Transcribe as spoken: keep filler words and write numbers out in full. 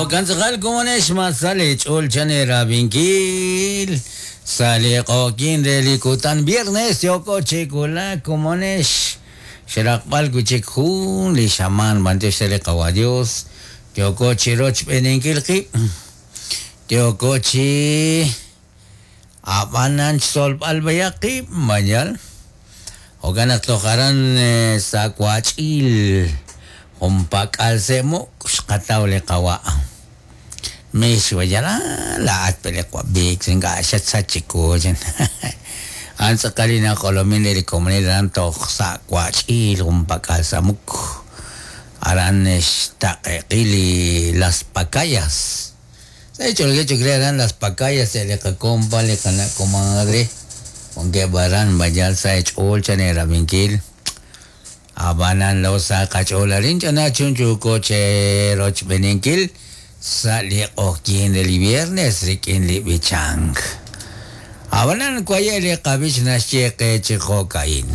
Jo'kan tz'aqal komonex masal ch'ol chan erabinkil sa' li q'oqyin re li kutan viernes yooko chi wulak komonex xraqb'al wi' chik jun li xamaan b'antiox re li qawa Dios yooko chi rochb'eeninkil qib' yooko chi ab'anan xsolb'al b'ayaq qib' mayal jo'kan naq toj aran sa' wach'il junpak'al se'muk xqataw li qawa' mix wayala laa'at pe li qwab'ik ink'a' xatsach chiwu a'an tz'aqal li naq'olomin re li komonil aran toj sa' wach'il junpak'al samuk aran xtaqe'qil li Las Pacayas sa' ch'olge chukre aran Las Pacayas li qakompa li qana' comadre wankeb' aran bayal sa' ch'ool chan erabinkil ab'anan lo sa' qach'ool arin ch'ana chunchuuko che rochb'eeninkil sa' li q'oqyin re li viernes rik'in li b'ichank ab'anan waye' li qab'ich naxye qe chi jo'ka'in.